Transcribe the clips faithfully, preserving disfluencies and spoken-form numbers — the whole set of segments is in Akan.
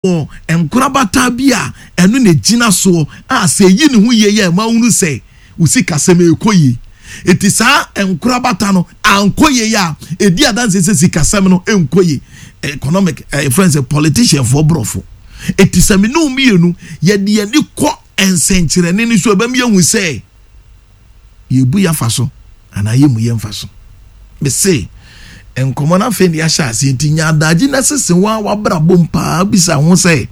Wɔ nkorabata bi a ɛno na ɛgyina soɔ a sɛ ɛyi ne ho yie yɛ ɛma wohunu sɛ wo sikasɛm ɛrekɔ yie. Enti saa nkorabata no ankɔ yie a, ɛdi adanseɛ sɛ sikasɛm no ɛnkɔ yie. Economic, ɛfrɛ no sɛ politicianfoɔ borɔfo. Enti sɛ me ne wo mmienu yɛde yɛn ani kɔ nsɛnkyerɛnne no so a, ɛbɛma yɛahu sɛ yɛrebu yɛn afa so anaa yɛmmu yɛn mfa so. Mese, nkɔmmɔ no afei na yɛahyɛ aseɛ nti nya adagye na sese wo ara w'abrabɔ mu paa bisa ho sɛ,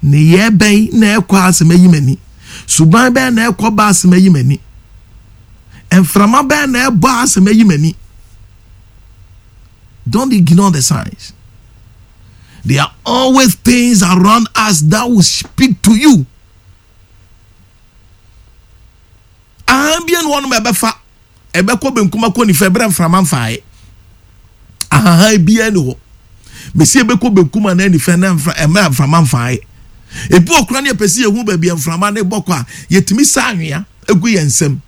nneyɛɛ bɛn na ɛkɔ a sɛ mayi m'ani? Suban bɛn na ɛkɔ ba a sɛ mayi m'ani? Mframa bɛn na ɛbɔ a sɛ mayi m'ani? Don't ignore the signs. There are always things around us that will speak to you. Ahan bi ne wɔnom ɛbɛfa ɛbɛkɔ benkum akɔ nifa ɛbrɛ mframa mfaeɛ. Ahahan biara ni hɔ. Mesi ɛbɛkɔ benkum anaa nifa na mfra ɛmɛ mframa mfaeɛ. Ebi wɔ koraa ne yɛpɛ sɛ yɛhu baabi a mframa no bɔ kɔ a, yɛtumi sa anwea egu yɛn nsam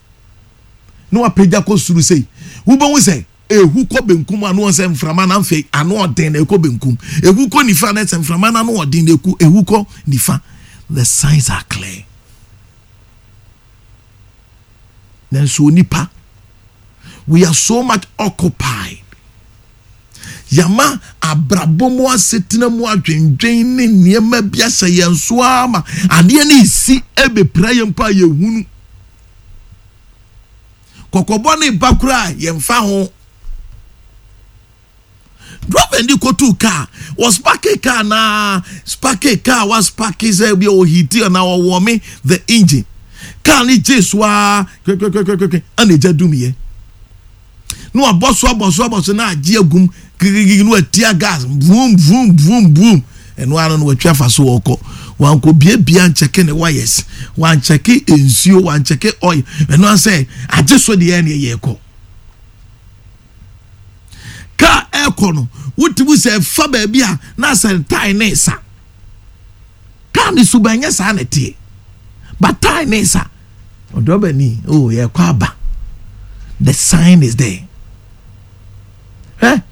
na wapagya kɔ soro sei. Wobɛhu sɛ ehu kɔ benkum a na wɔn sɛ mframa no afei ano ɔden na ɛkɔ benkum. Ehu kɔ nifa na sɛ mframa no ano ɔden na eku ehu kɔ nifa. The signs are clear. Nanso onipa, we are so much occupied. Yɛama abrabɔ mu asetena mu adwendwen ne nneɛma bi ahyɛ yɛn so ara ma adeɛ no resi ɛbɛpira yɛn mpo a yɛhunu. Kɔkɔbɔ ne ba koraa yɛmfa ho. Driver ni kɔtuu kaa, wɔspake kaa na spake kaa waspake sɛ bi ɔhiti anaa ɔwɔme the engine. Kaa no gyee so ara kwekwekwekwe ɛna egya dumiiɛ. Na wabɔ so abɔ so abɔ so na agye agum gigigigi na watia gas vroom vroom vroom vroom. Ɛno ara no watwi afa so ɔkɔ. Wankɔ biabia nkyɛke ne wires, wankyɛke nsuo, wankyɛke oil. Ɛno ara sɛ agye so deɛ ɛne yɛkɔ. Kaa ɛrekɔ no, wotumi sɛ ɛfa baabi a na asɛ tae ne sa. Kaa ne suban nyɛ saa na ɛteɛ. But tae ne sa. Ɔdrɔbani, oh, yɛkɔ aba. The sign is there. Hwɛ,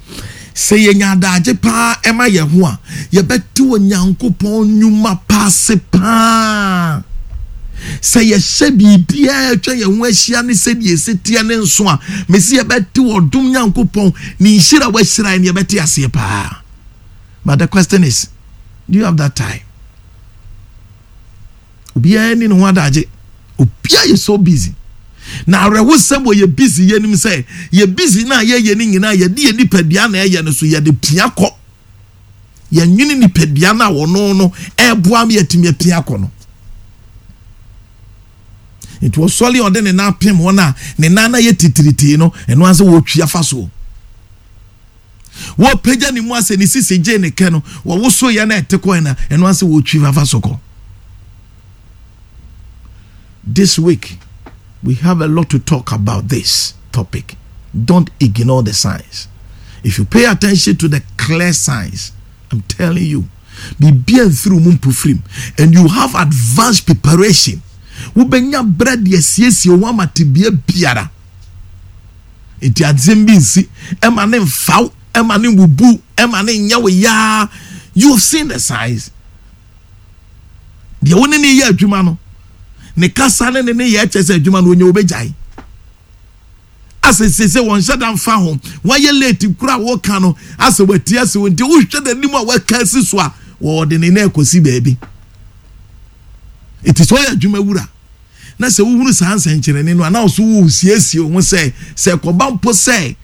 sɛ yɛnya adagye paa ɛma yɛn ho a, yɛbɛte Onyankopɔn nnwuma pa ase paa. Sɛ yɛhyɛ biribiara a atwa yɛn ho ahyia ne sɛdeɛ ɛsi teɛ ne nso a, mesi yɛbɛte ɔdom Nyankopɔn ne nhyira a wahyira yɛn yɛbɛte aseɛ paa. But the question is, do you have that time? Obiara ni ne ho adagye. Obiara yɛ so busy. Na awerɛhosɛm wɔ yɛ busy yɛ nim sɛ yɛ busy no a yɛyɛ no nyinaa yɛde yɛ nipadua na ɛyɛ no so yɛde pia kɔ. Yɛnwene nipadua no a ɔno no ɛreboa ma yɛatumi apia kɔ no. Nti ɔsɔre a ɔde ne nan pem wɔn a ne nan no ayɛ titiritii no, ɛno ara sɛ wɔretwi afa soɔ. Wɔpagya ne mu asɛ ne sisi gye ne kɛ no, wɔwoso yɛ na ɛte kɔɛ na ɛno ara sɛ wɔretwi afa so kɔ. This week, we have a lot to talk about this topic. Don't ignore the signs. If you pay attention to the clear signs, I'm telling you, biribi amfiri mu mpofirim and you have advanced preparation. Wobɛnya berɛ de asiesie wo ama tebea biara. Nti asɛm bi nsi, ɛma ne mfaw, ɛma ne mbubu, ɛma ne nyɛ wo yaa. You have seen the signs. Deɛ wo ne ne yɛ adwuma no, ne kasa ne ne ne yɛ kyɛ sɛ adwuma no onye obɛgyae. Asɛ sese wɔn hyɛ da mfa ho, wayɛ late kura a wɔka no, asɛ wati ase wɔn nti wohwɛ n'anim a waka asi so a, wɔde ne nan kɔsi baabi. Eti sɛ ɔyɛ adwuma wura na sɛ wohunu saa nsɛnkyerɛnne no a, na ɔso wosiesie wo ho sɛ sɛ ɛkɔba mpo sɛ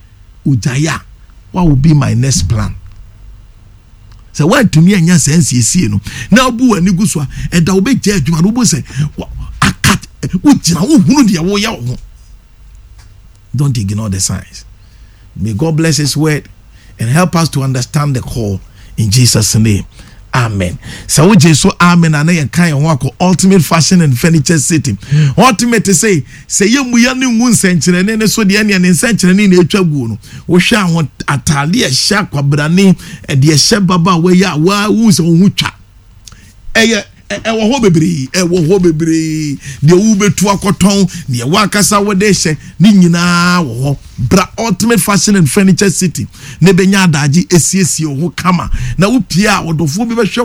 ogyae a, what will be my next plan? Sɛ woantumi anya saa nsiesie no na wobu w'ani gu so a, ɛda wobɛgya adwuma no, wobɛhu sɛ aka wogyina wohunu deɛ woyɛ wo ho. Don't ignore the signs. May God bless His word and help us to understand the call in Jesus' name. Amen. Sɛ wogye so amen a na yɛka yɛn ho akɔ Ultimate Fashion and Furniture City. Ultimate sɛ sɛ yɛmmu yɛn ne ngu nsɛnkyerɛnne ne so deɛ neɛ ne nsɛnkyerɛnne na ɛtwa guo no. Wohwɛ aho ataade a ɛhyɛ akwabrane, ɛde ɛhyɛ babaawa yi a wohu sɛ wo ho twa. Ɛyɛ Ɛwɔ hɔ bebree, ɛwɔ hɔ bebree. Deɛ wobɛtu akɔtɔn, deɛ wankasa wɔde hyɛ ne nyinaa wɔ hɔ. Bra Ultimate Fashion and Furniture City ne bɛnya adagye esiesie wo ho kama na wopie a, ɔdɔfoɔ bi bɛhwɛ.